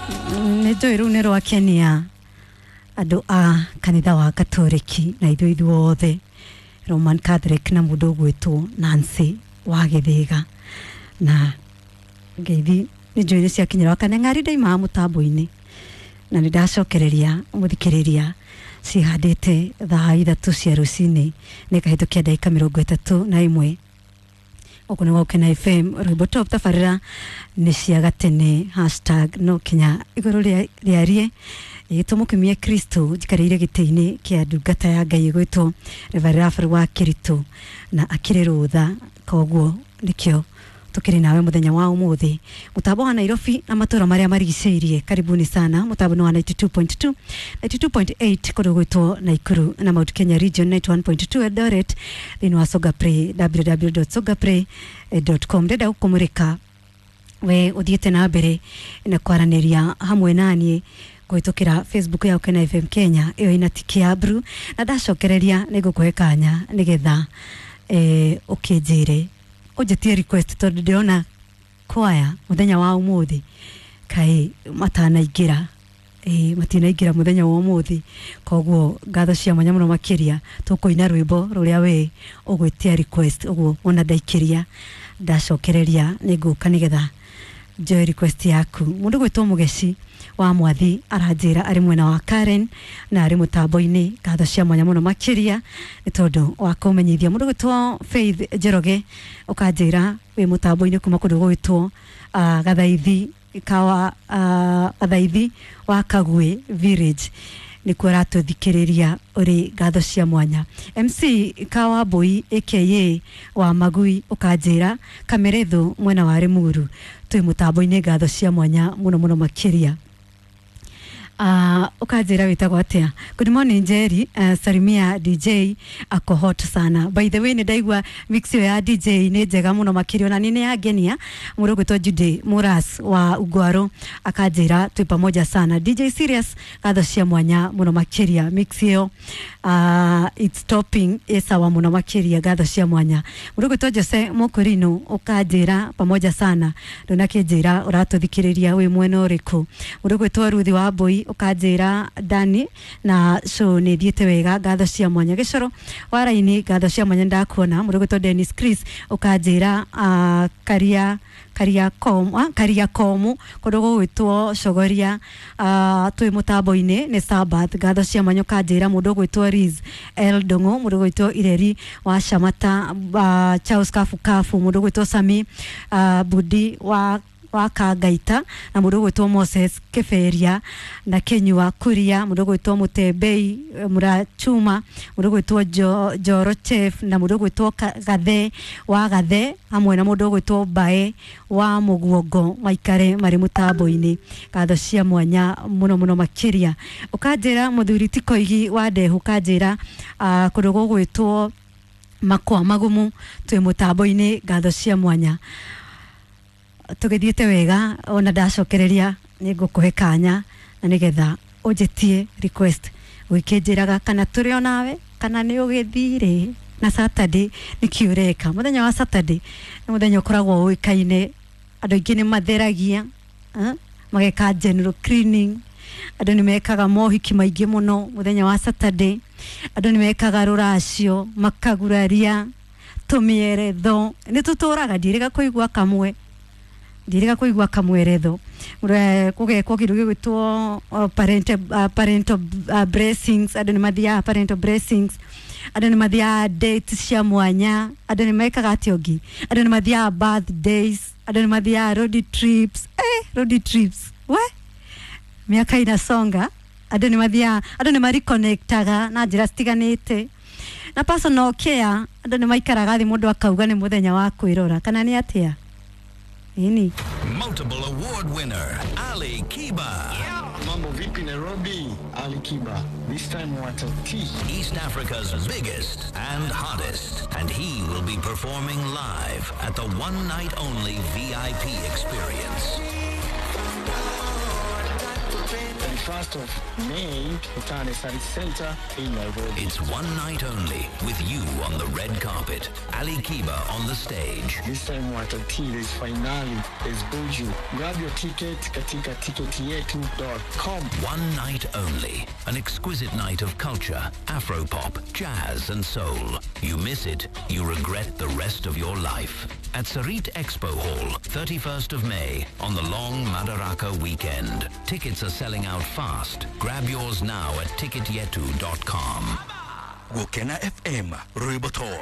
Nĩ njũĩ rũu nĩ rwakenia andũ a kanitha wa Katoliki na ithuĩ ithuothe Roman Catholic na mũndũ ũgwĩtwo Nancy wa Gĩthĩga. Na ngeithi nĩ njũĩ nĩ ciakinyĩra Kanyang'ari, ndaimaga mũtambo-inĩ na nĩ ndacokereria mũthikĩrĩria cihandĩte thaa 3 cia rũcinĩ nĩ kahĩtũkia ndagĩka 31. Gũkũ nĩ Gũkena FM, rwĩmbo top tabarĩra nĩ cia gatene hashtag no kinya igũrũ rĩarie ĩgĩtwo mũkimie Kristo. Njikarĩire gĩtĩ-inĩ kĩa ndungata ya Ngai ĩgwĩtwo Reverend Raphael wa Kĩritũ na akĩrĩ rũtha, koguo nĩkĩo tukĩrĩ nawe mũthenya wa ũmũthĩ. Mũtambo wa Nairobi na matũra marĩa marigicĩirie, karibuni sana. Mũtambo nĩ wa 92.2, 92.8 kũndũ gwĩtwo Naikuru na Mount Kenya region, 91.2 Eldoret, thĩinĩ wa Sogapray, www.sogapray.com. Ndĩrenda gũkũmũrĩka we ũthiĩte na mbere na kwaranĩria hamwe naniĩ kũhĩtũkĩra Facebook ya Ũkena FM Kenya, ĩyo ĩna tiki ya blue, na ndacokereria nĩ ngũkũhe kanya nĩgetha ũkĩnjĩre ũnjĩtie request, tondũ ndĩrona kwaya mũthenya wa ũmũthĩ kaĩ matanaingĩra, matinaingĩra mũthenya wa ũmũthĩ. Koguo ngatho cia mwanya mũno makĩria, tũkũina rwĩmbo rũrĩa we ũgwĩtia request. Ũguo ona ndaikĩria ndacokereria nĩ ngũka nĩgetha njoe request yaku. Mũndũ gwĩtwo Mũgeci wa Mwathi aranjĩra arĩ mwena wa Karen na arĩ mũtambo-inĩ, ngatho cia mwanya mũno makĩria nĩ tondũ wa kũmenyithia. Mũndũ gwĩtwo Faith Njoroge ũkanjĩra wĩ mũtambo-inĩ kuma kũndũ gwĩtwo Gathaithi kawa, Gathaithi wa Kagwe village nĩkuo aratũthikĩrĩria ũrĩ, ngatho cia mwanya. MC Kawambui aka wa Magui ũkanjĩra Kameretho mwena wa Limuru twĩ mũtambo-inĩ, ngatho cia mwanya mũno mũno makĩria. Ukanjĩra wĩtagwo atĩa? Good morning Njeri, salimia DJ ako hot sana. By the way, nĩ ndaigua mix ĩyo ya DJ nĩ njega mũno makĩria, ona nĩ yangenia. Mũndũ ũgwĩtwo Jude Muras wa Ugwaro akanjĩra twĩ pamoja sana. DJ Serious, ngatho cia mwanya mũno makĩria, mix ĩyo it's topping, ĩ sawa mũno makĩria, ngatho cia mwanya. Mũndũ ũgwĩtwo Jose Mũkũrinũ ũkanjĩra pamoja sana, ndũnakĩnjĩra ũratũthikĩrĩria wĩ mwena ũrĩkũ. Mũndũ ũgwĩtwo Ruthi wa Mbui ũkanjĩra Dani na show nĩ thiĩte wega, ngatho cia mwanya. Gĩcoro wa raini, ngatho cia mwanya, ndakuona. Mũndũ ũgwĩtwo Dennis Chris ũkanjĩra karia karia komu, karia komu kũndũ gũgwĩtwo Cogoria, twĩ mũtambo-inĩ nĩ Sabbath, ngatho cia mwanya. Ũkanjĩra mũndũ ũgwĩtwo Liz L Ndung'u, mũndũ ũgwĩtwo Ireri wa Shamata, Charles Kafu Kafu, mũndũ ũgwĩtwo Sami Budi wa Kangaita na mũndũ ũgwĩtwo Moses Kĩberia na Kĩnyua Kuria, mũndũ ũgwĩtwo Mũtembei Mũrachuma, mũndũ ũgwĩtwo Njoro Chef na mũndũ ũgwĩtwo Gathe wa Gathe hamwe na mũndũ ũgwĩtwo Mbae wa Mũguongo maikare marĩ mũtambo-inĩ, ngatho cia mwanya mũno mũno makĩria. Ũkanjĩra mũthuri ti Koigi wa Ndehu, ũkanjĩra kũndũ gũgwĩtwo Makwa Magumu twĩ mũtambo-inĩ, ngatho cia mwanya. Tũgĩthiĩte wega, ona ndacokereria nĩ ngũkũhe kanya na nĩgetha ũnjĩtie request ũgĩkĩnjĩraga kana tũrĩ o nawe kana nĩ ũgĩthire na Saturday nĩkĩ ũreka. Mũthenya wa Saturday nĩ mũthenya ũkoragwo ũĩkaine, andũ aingĩ nĩ matheragia, mageka general cleaning, andũ nĩ mekaga mohiki maingĩ mũno mũthenya wa Saturday, andũ nĩ mekaga rũracio, makaguraria tũmĩeretho, nĩ tũtũraga ndirĩga kũigua kamwe, ndirĩga kũigua kamweretho kũgekwo kĩndũ gĩgwĩtwo parental blessings, andũ nĩ mathiaga parental blessings, andũ nĩ mathiaga dates cia mwanya, andũ nĩ mekaga atĩa ũngĩ, andũ nĩ mathiaga birthdays, andũ nĩ mathiaga road trips, road trips we miaka inasonga, andũ nĩ mathiaga, andũ nĩ mareconnectaga na njĩra citiganĩte na personal care, andũ nĩ maikaraga thĩ mũndũ akauga nĩ mũthenya wa kwĩrora kana nĩ atĩa. Nini? Multiple award winner Ali Kiba. Mambo vipi Nairobi? Ali Kiba. This time watati. East Africa's biggest and hottest, and he will be performing live at the one night only VIP experience. 31st of May, Tutane Sarit Center in Nairobi. It's one night only with you on the red carpet, Ali Kiba on the stage. This time watati, there's finale, there's Buju. Grab your ticket katika ticketyetu.com. One night only. An exquisite night of culture, afropop, jazz and soul. You miss it, you regret the rest of your life. At Sarit Expo Hall, 31st of May, on the long Madaraka weekend. Tickets are selling out fast. Grab yours now at ticketyetu.com. Gukena FM rwimbo top.